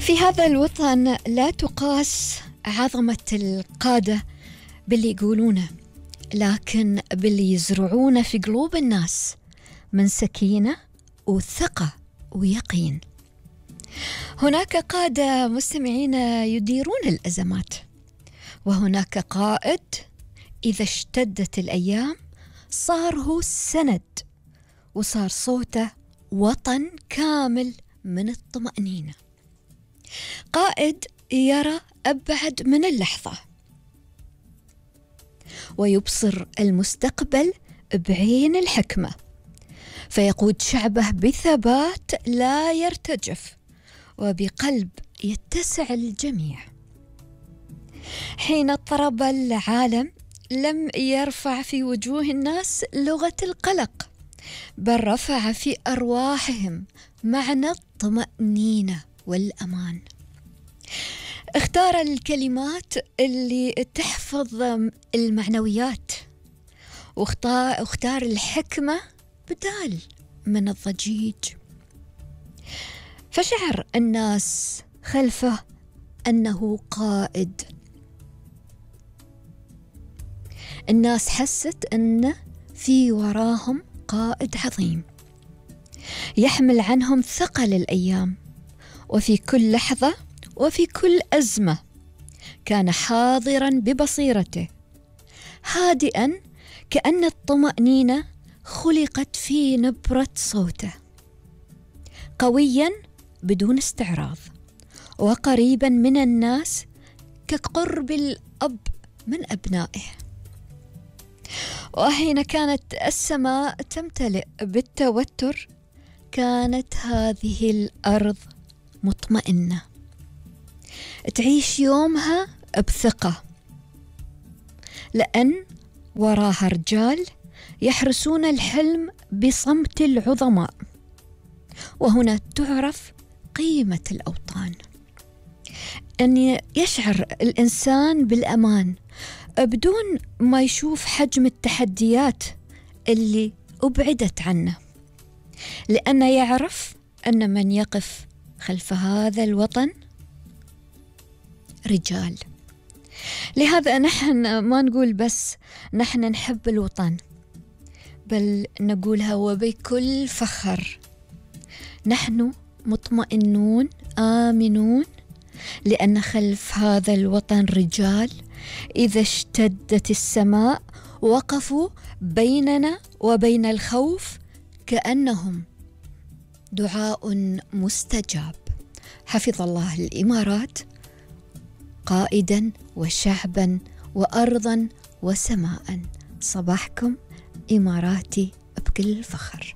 في هذا الوطن لا تقاس عظمة القادة باللي يقولونه، لكن باللي يزرعونه في قلوب الناس من سكينة وثقة ويقين. هناك قادة مستمعين يديرون الأزمات، وهناك قائد إذا اشتدت الأيام صار هو السند، وصار صوته وطن كامل من الطمأنينة. قائد يرى أبعد من اللحظة ويبصر المستقبل بعين الحكمة، فيقود شعبه بثبات لا يرتجف وبقلب يتسع الجميع. حين اضطرب العالم لم يرفع في وجوه الناس لغة القلق، بل رفع في أرواحهم معنى الطمأنينة والأمان. اختار الكلمات اللي تحفظ المعنويات، واختار الحكمة بدال من الضجيج، فشعر الناس خلفه أنه قائد. الناس حست أن في وراهم قائد عظيم يحمل عنهم ثقل الأيام، وفي كل لحظة وفي كل أزمة كان حاضراً ببصيرته، هادئاً كأن الطمأنينة خلقت في نبرة صوته، قوياً بدون استعراض، وقريباً من الناس كقرب الأب من أبنائه. وحين كانت السماء تمتلئ بالتوتر كانت هذه الأرض مطمئنة تعيش يومها بثقة، لأن وراها رجال يحرسون الحلم بصمت العظماء. وهنا تعرف قيمة الأوطان، أن يشعر الإنسان بالأمان بدون ما يشوف حجم التحديات اللي أبعدت عنه، لأنه يعرف أن من يقف خلف هذا الوطن رجال. لهذا نحن ما نقول بس نحن نحب الوطن، بل نقولها وبكل فخر، نحن مطمئنون آمنون، لأن خلف هذا الوطن رجال إذا اشتدت السماء وقفوا بيننا وبين الخوف كأنهم دعاء مستجاب. حفظ الله الإمارات قائدا وشعبا وأرضا وسماء. صباحكم إماراتي بكل فخر.